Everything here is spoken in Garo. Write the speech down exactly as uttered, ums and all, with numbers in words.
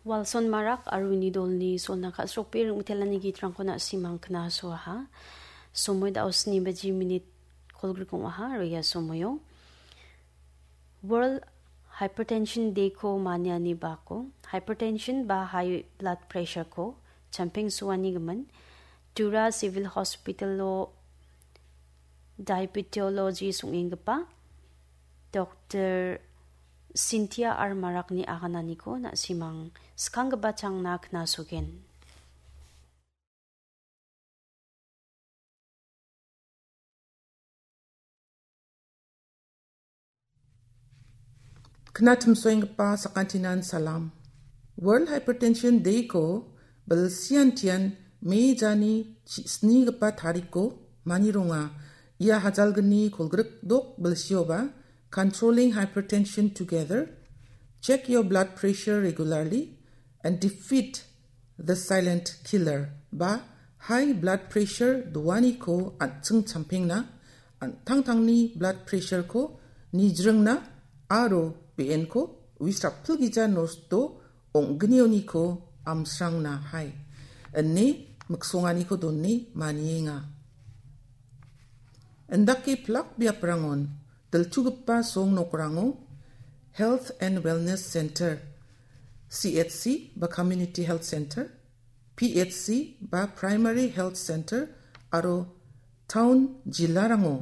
Walson Marak aro uni dolni solna ka·srokbe ring·mitelani gitrangko na·simang knasoaha. Somoi da·o sni baji minit kolgrik ong·aha aro ia somoio World Hypertension Day-ko maniani bako hypertension ba high blood pressure-ko champengsoanigimin Tura Civil Hospital-o Diabetology song·enggipa Doktor Cynthia R Marakni agananiko na·simang skanggipa changna knasogen. Knatimsoenggipa sakantinan salam. World Hypertension Day-ko bilsiantian Mei jani chi-, snigipa tariko manironga. Ia hajalgni kolgrik dok bilsioba, Controlling Hypertension Together, Check Your Blood Pressure Regularly, and Defeat the Silent Killer, ba high blood pressure doaniko an·ching champengna, an-, tangtangni blood pressure-ko nijringna aro be·enko wisrapilgija nosto ong·gnioniko amsrangna hai, ine miksonganiko done manienga. Indake pilak biaprangon diltugipa song nokrango Health and Wellness Center, C H C ba Community Health Center, P H C ba Primary Health Center aro town jilarango